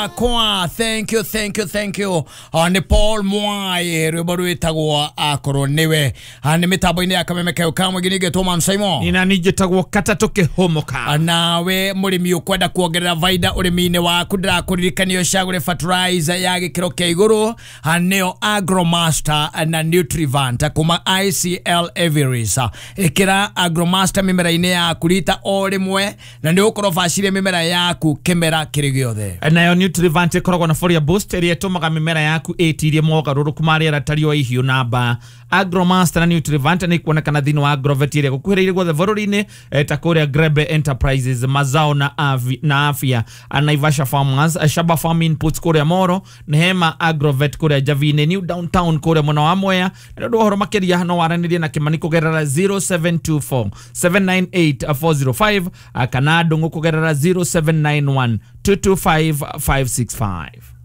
Kwa thank you, thank you, thank you. Nĩ Paul Mwai, rwĩmbo rwĩtagwo Akorwo Nĩwe. Nĩ mĩtambo-inĩ ya Kameme keo kamwe nginĩgetwo Man Simon. Nina nijĩtagwo Katatũ Kĩhũmũka. Nawe mũrĩmi ũkwenda kuongerera baida ũrĩmi-inĩ waku, ndĩrakũririkania ũcagũre fertilizer ya gĩkĩro kĩa igũrũ, nĩyo Agromaster na Nutrivant kuma ICL Everest. Ĩkĩra Agromaster mĩmera-inĩ yaku rita o rĩmwe na nĩ ũgũkorwo bacire mĩmera yaku kĩmera kĩrĩ gĩothe. Nayo Nutrivant ĩkoragwo na Folia Boost ĩrĩa ĩtũmaga mĩmera yaku ĩtirie mogarũrũku ma rĩera ta riũa, ihiũ na mbaa. Agromaster na Nutrivant nĩ ikuonekana thĩinĩ wa Agrovet ĩrĩa gũkuhĩrĩirie guothe bũrũri-inĩ, ta kũrĩa Grebe Enterprises, Mazao na, Avi, na Afya, Naivasha Farmers, Shaba Farm Inputs kũrĩa Moro, Nehema Agrovet kũrĩa Javine, New Downtown kũrĩa mwena wa Mwea. Na nĩ ũndũ wa ũhoro makĩria no waranĩrie na Kĩmani kũgerera 0724 798 405, kana Ndũng'ũ kũgerera 0791 225 565.